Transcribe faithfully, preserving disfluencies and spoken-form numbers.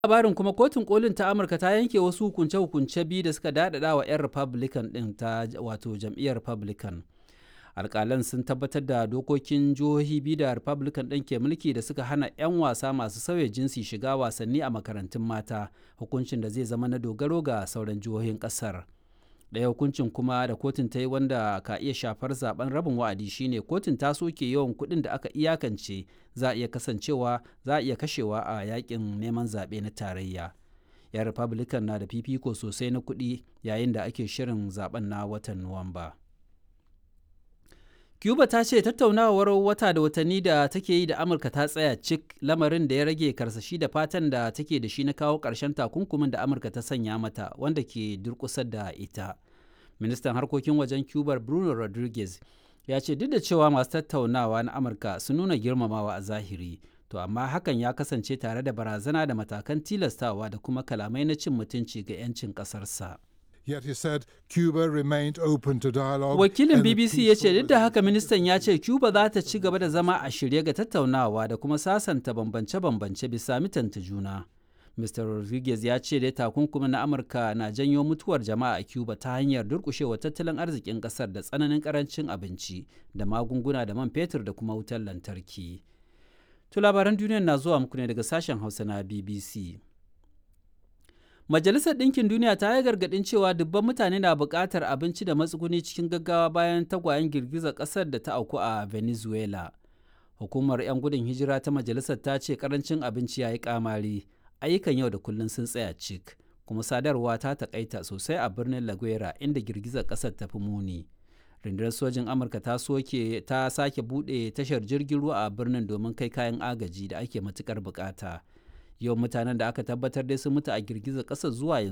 Labarin kuma, kotun kolin ta Amurka ta yanke wasu hukunce-hukunce biyu da suka daɗaɗa wa 'yan Republican ɗin ta wato jam'iyyar Republican. Alƙalan sun tabbatar da dokokin jihohi biyu da Republican ɗin ke mulki da suka hana 'yan wasa masu sauya jinsi shiga wasanni a makarantun mata, hukuncin da zai zama na dogaro ga sauran jihohin ƙasar. Ɗaya hukuncin kuma da kotun ta yi wanda ka iya shafar zaben rabin wa'adi shine kotun ta soke yawan kuɗin da aka iyakance za a iya kasancewa za a iya kashewa a yakin neman zaɓe na tarayya. 'Yan Republican na da fifiko sosai na kuɗi yayin da ake shirin zaben na watan Nuwamba. Cuba ta ce tattaunawar wata da watanni da take yi da Amurka ta tsaya cik, lamarin da ya rage karsashi da fatan da take da shi na kawo ƙarshen takunkumin da Amurka ta sanya mata wanda ke durƙusar da ita. Ministan harkokin wajen Cuba Bruno Rodriguez ya ce duk da cewa masu tattaunawa na Amurka sun nuna girmamawa a zahiri, to amma hakan ya kasance tare da barazana da matakan tilastawa da kuma kalamai na cin mutunci ga 'yancin ƙasarsa. Yet he said Cuba remained open to dialogue. Wakilin and a B B C ya ce peaceful duk da haka ministan ya ce Cuba za ta ci gaba da zama a shirye ga tattaunawa da kuma sasanta bambance-bambance bisa mitanta juna. Mister Rodriguez ya ce dai takunkumin na Amurka na janyo mutuwar jama'a a Cuba ta hanyar durƙushewa tattalin arzikin ƙasar da tsananin ƙarancin abinci da magunguna da man fetur da kuma wutar lantarki. To, labaran duniyar na zuwa muku ne daga sashen Hausa na B B C. Majalisar Ɗinkin Duniya ta yi gargaɗin cewa dubban mutane na buƙatar abinci da matsuguni cikin gaggawa bayan tagwayen girgizar ƙasar da ta auku a Venezuela. Hukumar 'yan gudun hijira ta majalisar ta ce ƙarancin abinci ya yi ƙamari, ayyukan yau da kullum sun tsaya cik, kuma sadarwa ta taƙaita sosai a birnin La Guaira inda girgizar ƙasar ta fi muni. Rundunar sojin Amurka ta soke ta sake buɗe tashar jirgin ruwa a birnin domin kai kayan agaji da ake matuƙar buƙata. Yawan mutanen da aka tabbatar dai sun mutu a girgizar ƙasar zuwa yanzu